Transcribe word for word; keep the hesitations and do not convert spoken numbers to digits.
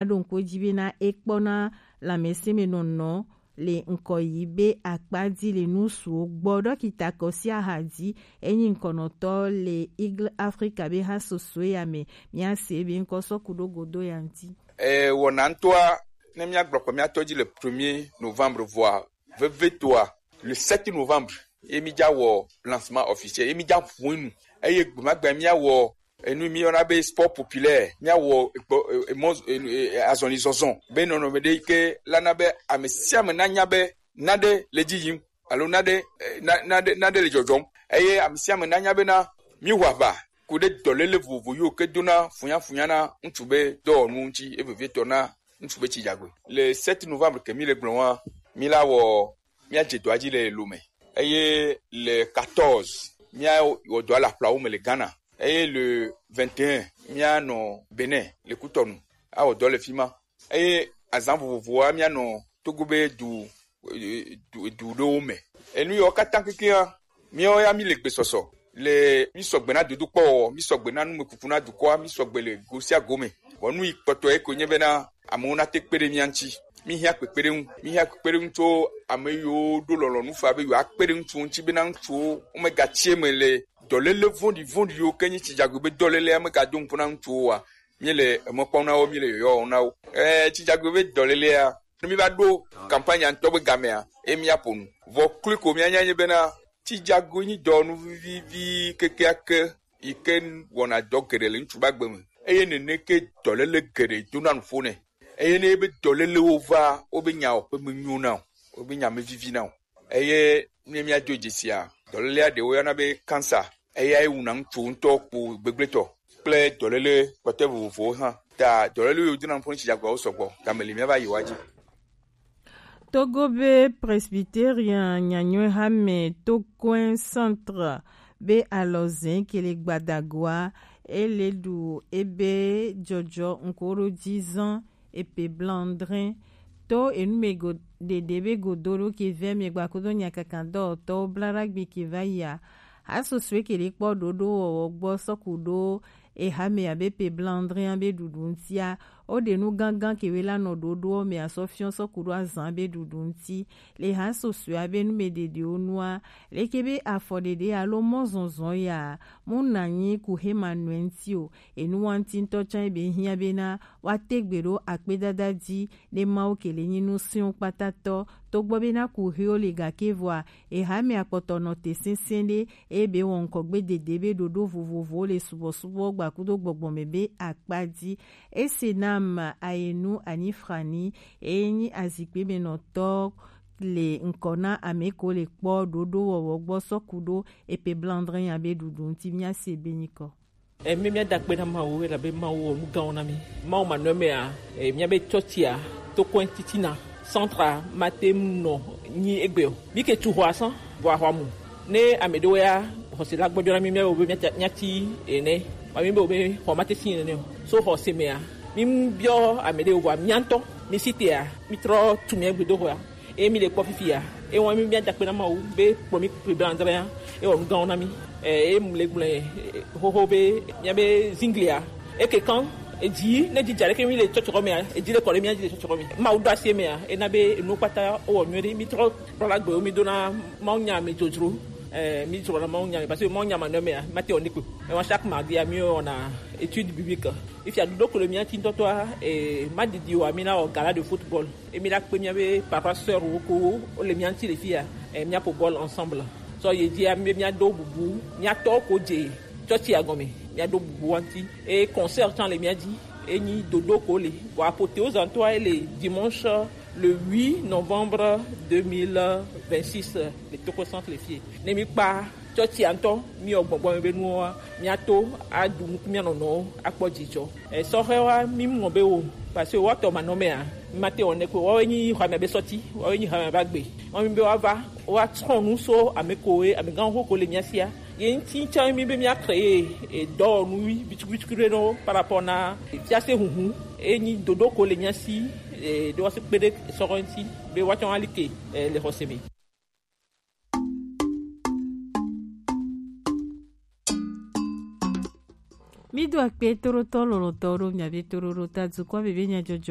Aɖo ŋku ji bena e kpɔna lanmɛsɛnmɛnɔnɔ le ŋkɔ yi be akpa ji le nusuwo gbɔ. Ɖɔkita Kɔsi Ahadi, enyi ŋkɔnɔtɔ le Eagle Africa be ha soso ya me, mia se be ŋkɔ sɔku ɖo godo ya ŋti. E wɔna ŋutɔa, ne mia gblɔ kɔ mia tɔ ji le premier novembre vɔa, vevetoa, le sept novembre, ye mi dza wɔ lancement officiel, ye mi dza ʋu enu. Eye gbemagbe mia wɔ enu mi yɔna be sport populaire, mia wɔ ekpɔ, e, e, mɔ, e, e, azɔli zɔzɔ be nɔnɔme ɖe yi ke la na be ame sia ame na nya be naɖe le dzi yim alo naɖe, e, na, naɖe, naɖe le dzɔdzɔm. Eye ame sia ame na nya bena mi wɔ aʋa ku ɖe dɔléle vovovo yiwo ke dona funyafunya na ŋutsu be dɔwɔnu ŋuti, e vevietɔ na ŋutsu be tsidzagoe. Le sept novembre ke mi le gblɔ wa, mi la wɔ, mia dze dɔa dzi le Lomé. Eye le quatorze, mia wɔ dɔa le aƒlawo me le Ghana. Eye le vingt et un, mia nɔ Benin le Kutɔnu. Awɔ dɔ le fi ma. Eye azã vovovoa, mia nɔ Togo be du, du, du ɖewo me. Enu yiwo katã kekeŋa, míawo ya mi le gbesɔsɔ le mi sɔgbe na dodokpɔwɔwɔ, mi sɔgbe na numekuku na dukɔa, mi sɔgbe le go sia go me. Vɔ nu yi kpɔtɔ ye ko nye bena amewo nate kpe ɖe mía ŋuti. Mi hiã kpekpeɖeŋu, mi hiã kpekpeɖeŋu tso ame yiwo ɖo lɔlɔ̃nu faa be yewoakpe ɖe ŋutsuwo ŋuti bena ŋutsuwo womegatsi eme le dɔléle vɔ̃ɖi vɔ̃ɖiwo ke nyi tsidzagoe be dɔlélea megado ŋkɔ na ŋutsuwo oa, míele emɔ kpɔm na wo, míele yɔyɔ wɔm na wo. Ɛɛ, tsidzagoe be dɔlélea, ne míva ɖo kampanya ŋutɔ be gamea, ye míaƒo nu. Vɔ kloe ko míanya nye bena, tsidzagoe nyi dɔwɔnu vivivi kekeake yi ke wɔna dɔ geɖe le ŋutsu be agbe me. Eye nene ke dɔléle geɖe dona nuƒo nɛ. Eye ne be dɔlélewo va, wobe nyawo ƒe menyo na o, wobe nya mevivi na o. Eye ne míado dzesia, dɔlélea ɖewo yɔna be cancer. Eyae wuna ŋutsu ŋutɔ kpo gbegblẽtɔ kple dɔléle kpɔtɔe vovovowo hã. Ta dɔléle yiwo dona ŋkɔ ŋuti dzagbeawo sɔgbɔ. Game li míava yi woa dzi. Togo be Presbyterian nyanyɔe hame Tokoe Centre be alɔzẽ ke le Gbadagoa, ele ɖu ebe jɔjɔ ŋkɔ ɖo ji zɔn epe blandrin. To enumɛ go ɖeɖe be godo ɖo ke vɛ mi gba kudo nyakaka dɔwɔtɔwo bla ɖagbe ke va yia. Hasosoe ke ɖe kpɔ ɖoɖo wɔwɔ gbɔ sɔku ɖo eha me abe pe blandrin be ɖuɖu ŋtia. O ɖe nu gangan ke we la nɔ ɖoɖo me asɔ fiɔ sɔku ɖo azan be ɖuɖu ŋti. Le hasosoe abe numɛ ɖeɖewo nua, leke be afɔ ɖeɖe alo mɔzɔzɔ ya, mu nanyi ku hema nɔe ŋti o. Enu wa ŋti ŋtɔ tsã be hiã bena woate gbe ɖo akpedada ji ɖe Mawu ke le nyi nu srɔ̃ kpatatɔ, togbɔ bena kuxiwo li gake vɔa, eha me akpɔtɔ nɔ te sɛsɛ ɖe, eye be wɔ ŋkɔgbe dede be ɖoɖo vovovowo le subɔsubɔ gbakudo gbɔgbɔ me be akpa ji. Ese nam ayenu anyi frani, eye nyi azikpe me nɔtɔ le ŋkɔ na ame ko le kpɔ ɖoɖo wɔwɔ gbɔ sɔku ɖo epe blandrin ya be ɖuɖu ŋti mía se be nyikɔ. E, mi mía da akpe na Mawu elabe Mawu wɔ nu gãwo na mi. Mawu manɔmea, e, míabe tsɔtsia, Tokoe titina, centre mate ŋu nɔ nyi egbe o. Mi ke tu xɔa sã, vɔ axɔa mu. Ne ame ɖewo ya xɔse la gbɔdzɔ na mi, míabe be míati ene. Ma mi be be xɔ mate si ene o. So xɔse mea, mi mu biɔ ame ɖewo vɔ mía ŋutɔ, mi si tea, mi trɔ tu mía gbedoxɔa. Eye mi le kpɔ fifia, eye wɔn mi mía da akpe na Mawu be kplɔ mi kple bla adre ya, eye wɔ nu gãwo na mi. Eye mu le gblẽ, xoxo be míabe zinglia, eke kan, edzi ne dzi dza ɖeke mi le tsɔtsɔkɔ mea, edzi le kɔ ɖe mía dzi le tsɔtsɔkɔ me. Mawu ɖo asi emea, ena be enu kpata wowɔ nyuie ɖe, mi trɔ kplɔla gbewo mi dona Mawu nya me dzodzro. Eh, mi dzro na Mawu nya me, parce que Mawu nya manɔ mea, mate wɔ ne kpe. Ewa chaque mardi a mi wɔna étude biblique. Ifia ɖoɖo ko le mía ti ŋutɔtɔa, eh, ma didi wa mi na wɔ gala de football. Emi la kpe mía be papa sœur wo ko wo le mía ŋuti le fia, eh, mía ƒo bɔl ensemble. Sɔ ye dzia mi be mía do bubu, mía tɔ ko dze tsɔtsia gɔme, mía do bubu wa ŋuti. E concert tsã le mía dzi, e nyi dodo ko le. Vɔ apothéose ŋutɔa e le dimanche le huit novembre deux mille vingt-six le Tokoe centre le fie. Ne mi kpa tsɔtsia ŋutɔ, mi wɔ gbɔgbɔ me be nuwoa, mía to aɖu nuku mía nɔnɔwo akpɔ dzidzɔ. Esɔhɛwoa, mi mɔ be wo, parce que woatɔ manɔmea, mi mate wɔ ne ko, woawoe nyi xɔa mea be sɔti, woawoe nyi xɔa mea be agbe. Wɔmi be woava, woatrɔ nu so ame koe, amegãwo ko le mía sia. Ye ŋuti tsã mi be mía créer, e, dɔwɔnu wi, bituku bituku ɖe nɔ par rapport na, e, fiase huhu, e nyi dodo ko le mía si, e, ɖe woase kpe ɖe sɔhɛ ŋuti, be woatsɔ ali ke, e, le xɔse me. Mi do akpe toɖotɔ lɔlɔ̃tɔwo ɖo miabe toɖoɖo ta dukɔ bebe nyajɔjɔ